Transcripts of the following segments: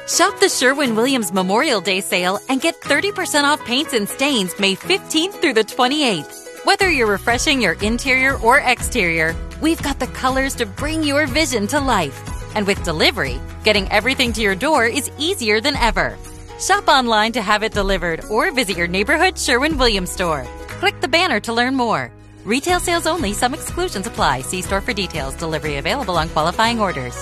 Shop the Sherwin Williams Memorial Day sale and get 30% off paints and stains May 15th through the 28th. Whether you're refreshing your interior or exterior, we've got the colors to bring your vision to life. And with delivery, getting everything to your door is easier than ever. Shop online to have it delivered or visit your neighborhood Sherwin Williams store. Click the banner to learn more. Retail sales only, some exclusions apply. See store for details. Delivery available on qualifying orders.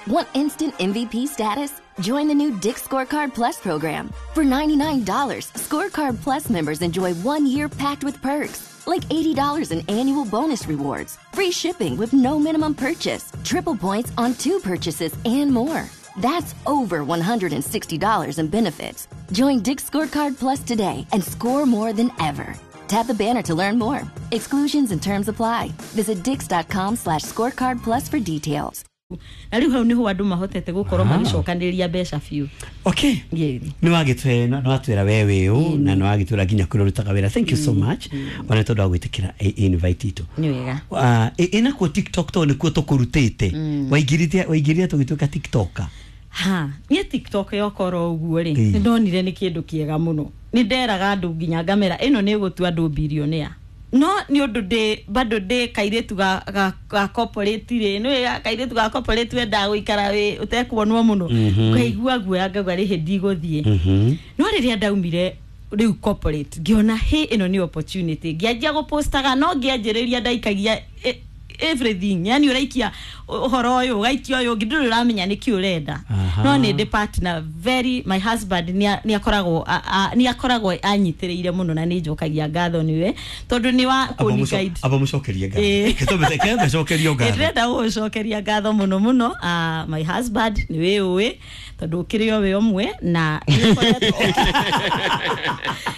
Want instant MVP status? Join the new Dick's Scorecard Plus program. For $99, Scorecard Plus members enjoy 1 year packed with perks, like $80 in annual bonus rewards, free shipping with no minimum purchase, triple points on two purchases, and more. That's over $160 in benefits. Join Dick's Scorecard Plus today and score more than ever. Tap the banner to learn more. Exclusions and terms apply. Visit dicks.com/scorecard plus for details. Na rĩu hau nĩho andũ mahotete gũkorwo magĩcokanĩrĩria mbeca biũ. Okay. Nĩ wagĩtwĩra, nĩ watwĩra we wĩ ũ, na nĩ wagĩtwĩra nginya kũrĩa ũrutaga wĩra. Thank you so much ona tondũ wa gwĩtĩkĩra invite itũ. Nĩ wega. Ĩnakuo TikTok, tondũ nĩkuo tũkũrutĩte, waingĩrire, waingĩrire tũgĩtuĩka TikToker. Ha, niĩ TikTok yokorwo ũguo rĩ, Ĩĩ. nĩ ndonire nĩ kĩndũ kĩega mũno. Nĩ nderaga andũ nginya ngamera ĩno nĩ ĩgũtua andũ billionaire, no nĩ ũndũ ndĩ bado ndĩ kairĩtu ga corporate rĩ, nĩ kairĩtu ga corporate wendaga gũikara wĩ ũtekuonwo mũno. Ngaigua guoya, ngauga rĩhĩ ndigũthiĩ. No rĩrĩa ndaumire rĩu corporate, ngĩona hĩ, ĩno nĩ opportunity. Ngĩanjia gũpostaga, no ngĩanjĩrĩria ndaikagia everything, yani ũraikia ũhoro ũyũ, ũgaikia ũyũ ũngĩ, ndũrĩ ũramenya nĩkĩ ũrenda. No nĩ ndĩ partner very, my husband nĩ akoragwo anyitĩrĩire mũno, na nĩ njokagia ngatho nĩwe tondũ nĩ wa kũni guide. Aba mũcokerie Ĩĩ. ngatho, kembecokerio ngatho. Ndĩrenda gũgũcokeria ngatho mũno mũno. My husband nĩ wĩ ũĩ tondũ ũkĩrĩ o wĩ ũmwe na nĩ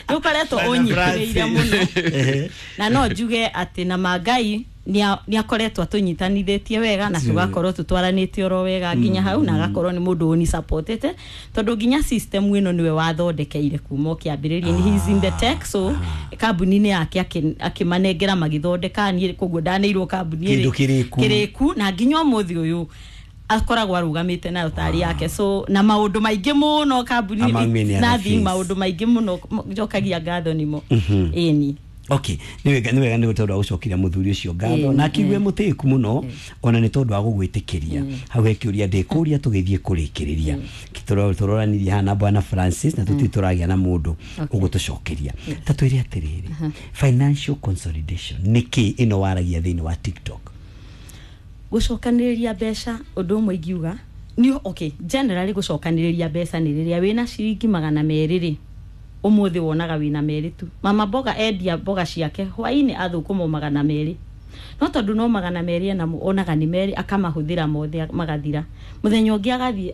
ũkoretwo ũnyitĩrĩire mũno. Na no njuge atĩ na mangai nĩ akoretwo atũnyitanithĩtie wega na tũgakorwo tũtwaranĩte oro wega nginya hau, na agakorwo nĩ mũndũ ũni supportete tondũ nginya system ĩno nĩwe wathondekeire kuma kĩambĩrĩria. He is in the tech, so kambuni-inĩ yake akĩmanengera magĩthondeka, niĩ koguo ndaneirwo kambuni Kĩndũ kĩrĩku. Kĩrĩku, na nginya ũmũthĩ ũyũ akoragwo arũgamĩte nayo tarĩ yake, so na maũndũ maingĩ mũno kambuni. Among many other Nothing. Things. Maũndũ maingĩ mũno njokagia ngatho nĩmo, ĩni. Okay, nĩ wega, nĩ wega, nĩ tondũ wa gũcokeria mũthuri ũcio ngatho na akiuge mũtĩku mũno ona nĩ tondũ wa gũgwĩtĩkĩria. Hau he kĩũria ndĩkũria tũgĩthiĩ kũrĩkĩrĩria. Tũroranirie haha na bwana Francis na tũtirĩ tũragĩa na mũndũ ũgũtũcokeria. Ta twĩre atĩrĩrĩ, financial consolidation nĩ kĩ ĩno waragia thĩinĩ wa TikTok? Gũcokanĩrĩria mbeca, ũndũ ũmwe ingiuga nĩ, okay, generally gũcokanĩrĩria mbeca nĩ rĩrĩa wĩna ciringi 200 rĩ, ũmũthĩ wonaga wĩna 2 tu. Mama mboga endia mboga ciake hwainĩ athũkũma 200, no tondũ no 200 enamo, onaga nĩ 2, akamahũthĩra mothe magathira. Mũthenya ũngĩ agathiĩ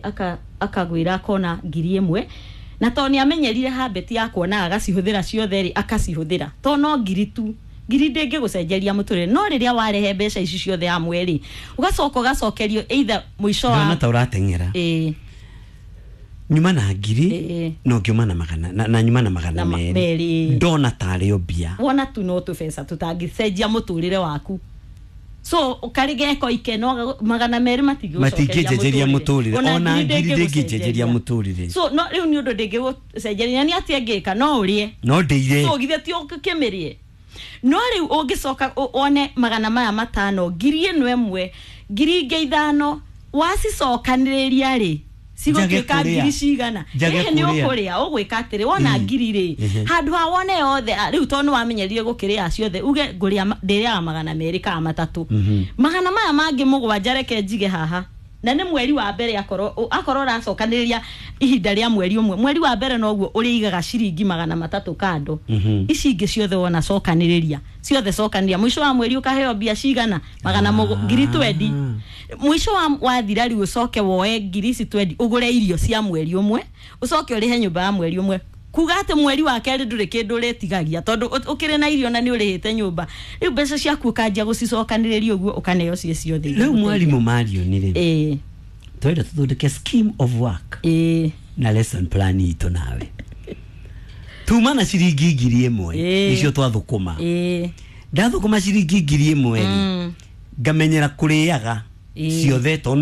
akagwĩra akona 1000, na tondũ nĩ amenyerire habit ya kuona agacihũthĩra ciothe rĩ, akacihũthĩra to no ngiri tu, ngiri ndĩngĩgũcenjeria mũtũrĩre. No rĩrĩa warehe mbeca ici ciothe hamwe rĩ, ũgacoka ũgacokerio either mũico Ndona wa ta ũrateng'era. Ĩĩ. Nyuma na ngiri Ĩĩ. no ngiuma na magana na nyuma na magana Na merĩ. 2. Ndona tarĩ o mbia. Wona tu no tũbeca tũtangĩcenjia mũtũrĩre waku, so karĩ geko ikeno 200 Matingĩnjenjeria mũtũrĩre. Ona ngiri ndĩngĩnjenjeria mũtũrĩre. So no rĩu nĩ ũndũ ndĩngĩgũcenjeria nĩ atĩa ngĩka, no ũrĩe. No ndĩire. So githĩ ti ũkĩmĩrĩe? No rĩu ũngĩcoka wone magana maya 500, 1000, 5000, wacicokanĩrĩria rĩ, Njage cigũtuĩka kũrĩa. ngiri cigana? Njage Ĩhĩ, nĩ kũrĩa. ũkũrĩa. Ũgwĩka atĩrĩ, wona ngiri rĩ, handũ ha wone yothe, rĩu tondũ nĩ wamenyerire gũkĩrĩa ciothe, uge ngũrĩa ndĩrĩaga 200 kana 300, magana maya mangĩ 7 reke njige haha. Na nĩ mweri wa mbere, akorwo ũracokanĩrĩria ihinda rĩa mweri ũmwe, mweri wa mbere noguo ũrĩigaga ciringi 300 kando. Ici ingĩ ciothe wona cokanĩrĩria ciothe, cokanĩrĩria, mũico wa mweri ũkaheo mbia cigana? Magana ngiri 20. Mũico wa wathira rĩu, ũcoke woe ngiri ici 20, ũgũre irio cia mweri ũmwe, ũcoke ũrĩhe nyũmba ya mweri ũmwe, kuga atĩ mweri wa kerĩ ndũrĩ kĩndũ ũrĩtigagia tondũ ũkĩrĩ na irio na nĩ ũrĩhĩte nyũmba. Rĩu mbeca ciaku ũkanjia gũcicokanĩrĩria ũguo, ũkaneo ciĩ ciothe. Rĩu mwarimũ Marion rĩ, ĩĩ. twenda tũthondeke scheme of work na lesson plan itũ nawe. Tuma na ciringi 1000 icio twathũkũma. Ndathũkũma ciringi 1000 rĩ, ngamenyera kũrĩaga ciothe to no